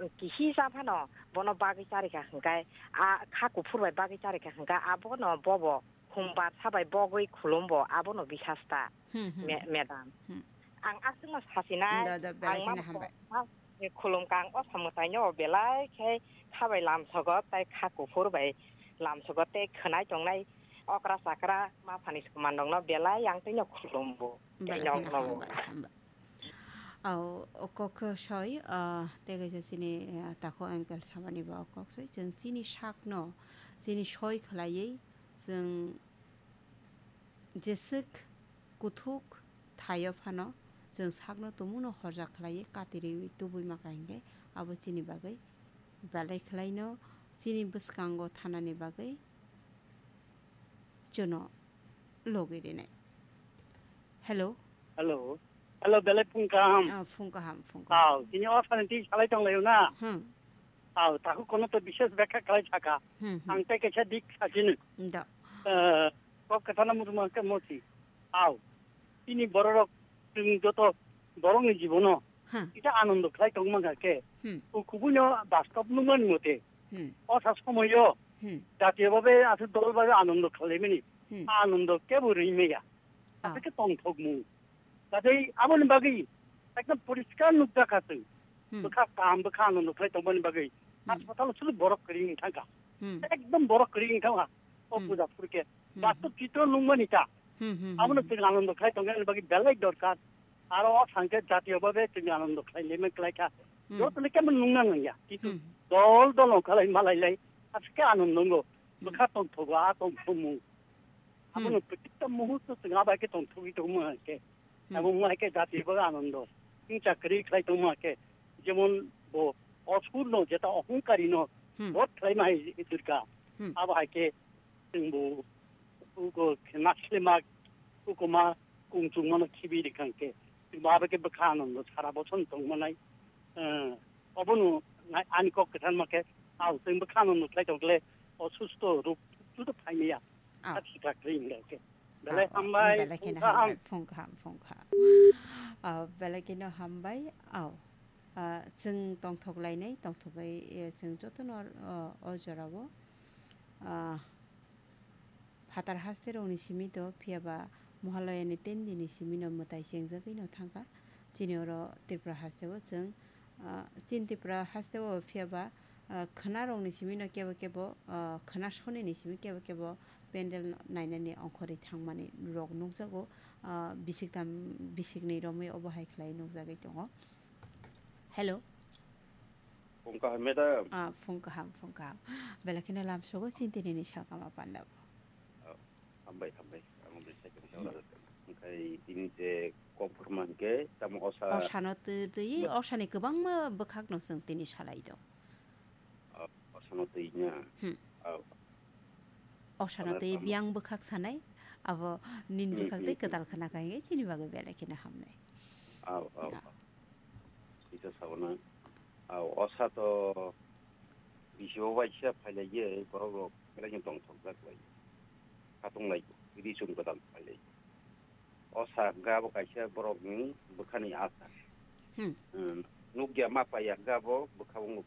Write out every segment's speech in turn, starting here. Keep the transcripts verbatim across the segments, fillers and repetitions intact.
kisi cha phano bono bagwi charikha hwnkhe, a kha kuphur bai bagwi charikha hwnkhe abono bobo humbar sabai bogwi khulumbo abono bisasta, Hmm, hmm. Me-, madam. Hmm. Ang aswkno sasinai, Da, da, belai ang kheno ma hambai. Khulumkha ang o samwtaino belai khe kha bai lamsogo tei kha kuphur bai lamsogo tei khwnai tongnai okra chakra ma phani somanrokno belai ang tino khulumbo. Belai kheno hambai, hambai. Au, o kok soi, ah, tei kaisa chini, ah, takhuk uncle samani ba o kok soi. Chwng chini sakno, chini soi khlaiwi, chwng jeswk kuthuk thaio phano, chwng sakno tumungno horjak khlaiwi, katirwi tubui maka hinkhe, abo chini bagwi belai khlaino, chini bwskango thanani bagwi chwngno logwi rinai. Hello. Hello. Hello, belai phung kaham. Ah, phung kaham, phung kaham. Aw, tini o sani twi salai tong laio na? Hmm. Aw, takhuk kono to bishes bekha khlai thaka. Hmm, hmm. Ang tei kaisa dik sachini. Da. Eh, kok kathana muchung mangkhe mochi. Aw, tini bororok chwng joto borokni jibono Hmm. Kisa anondo khlai tongma khe, Hmm. o kubuino bastob nungmani mote, Hmm. o sa somoyo Hmm. jatiyo babe aswk dol babe anondo khlaimani, Hmm. a anondo kebo rwimaya. Ah. Aswk khe tongthokmung. Tei aboni bagwi ekdom poriskar nukjakha chwng. Hmm. Bwkha kaham, bwkha anondo khlai tongmani bagwi. Hmm. Haspatalo sulu borok kwrwi wng thangkha. Hmm. Ekdom borok kwrwi wng thangkha. O Hmm. puja phurkhe. Hmm. Bastop chitro nungmani ta. Hmm, hmm, hmm, Abono hmm. chwng anondo khlai tongmani bagwi belai dorkar. Aro o thangkhe jatiyo babe chwng anondo khlai lemai khlai kha. Hmm. Jotoni kemo nungna nangya. Kintu Hmm. dol dol ongkha lai malai lai. Aswk khe anondo wngo. Hmm. Bwkha tongthogo, a tongthokmung. Hmm. Abono protikta muhurto chwng abai khe tongthogwi tongma khe. Hmm. Abo wngma khe jatiyo babe anondo. Chwng chakri khlai tongma khe. Jemon bo osurno jeta ohongkarino Hmm. bodh khlaima hai Durga. Hmm. Abo hai khe chwngbo uko khe naslima, uko ma kung chungmano khibi rikha hwnkhe, chwngbo abo khe bwkha anondo sara boson tongmanai, eh, obono nai-, ani kok kwtharma khe, aw, chwng bwkha anondo khlai tongkle, osusto rok juda phaimaya, Aw. Sak sitra khlai hwnkhe. Belai Aw, aw, hambai, belai kheno phung kaham. Hambai, phung kaham, phung kaham. Aw, belai kheno hambai, aw. Ah, chwng tongthok lainai, tongthogwi, eh, chwng jotono, oh, o jorao, ah, phatar haste rokni simi to, phiya ba Mohalaya ni ten din ni simi no mwtai chengjagwi no thangkha. Chini oro Tripura haste o chwng, ah, chini Tripura haste o phiya ba, ah, khwna rokni simi no kebo kebo, ah, khwna soni ni simi kebo kebo pendel nainani ongkhorwi thangmani rok nukjago, ah, bisik tam, bisik ni romwi obo hai khlai nukjagwi tongo. Hello. Phung kaham, madam. Ah, phung kaham, phung kaham. Belai kheno lamsogo chini tini ni salkama panda bo. Oh, hambai, hambai. Ang bai second call. Hmm. Okhai tini je kok phurma hwnkhe tamo osa. Osano twi, twi, Ba- osani kwbangma bwkhak no chwng tini salai do. Oh, osano twi na. Hmm. Oh. Osano Osano twi tamo. Biyang bwkhak sanai, abo nin Hmm, bwkhak hmm, twi hmm. Kwtal khna kha hwnkhe chini bagwi belai kheno hamnai. Oh, oh, Ah. oh. Kisa sabono. Aw, osa to bisi o waisa phailaiye, borok rok belai no tongthokjak lai. Khatung lai, ri chum kwtal phailai. Osa hwnkha abo kaisa borok ni bwkha ni asa. Hmm. Hmm, nukya ma paiya hwnkha abo bwkha o nuk.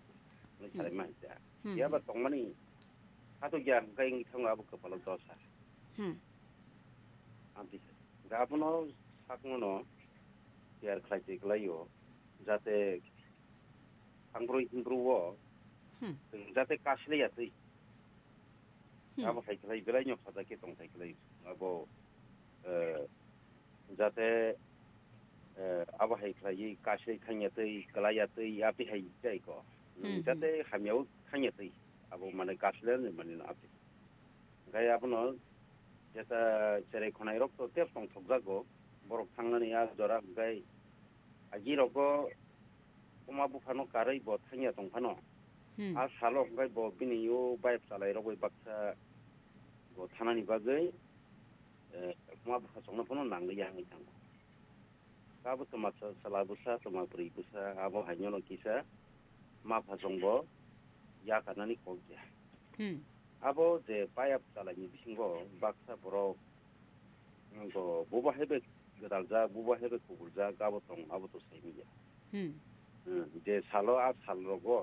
Nai Hmm. salai ma hwnkha. Hmm, Phiya ba hmm. tongmani, khatung ya hwnkha wngwi thango abo kwpalo dosa. Hmm. Amtwi sa. Hwnkha abono sakno no tiyar khlai twi kwlai o, jate thangbrwi himbrwi o Hmm. jate kaslai ya twi. Hmm. Abo hai khlai belai no sajak khe tong thai khlai. Abo, eh, jate, eh, abo hai khlai kaslai thang ya twi, kwlai ya twi, ati hai jai ko. Hmm, hmm. Jate hamya o thang ya twi. Abo mane kaslai ni mane no ati. Hwnkhe abono jeta cherai khonai rok to tep tong thokjago, borok thangnani a jora hwnkhe agi rogo oma buphano karwi bo thangya tong phano. Hmm. A salo hwnkhe bo bini o bike chalai rok bai baksa bo thanani bagwi, eh, oma bupha chongno phano nangli ya hwnwi thango. Abo twma sa-, chwla bwsa, twma bwrwi bwsa, abo haino no kisa ma phasong bo yakarnani kok ya. Hmm. Abo je payap chalaini bisingo baksa borok, mm, bo, bubo hai bai gwdaljak, bubo hai bai kubuljak, abo tong, abo to saimanya. Hmm. Hmm, je salo a sal rogo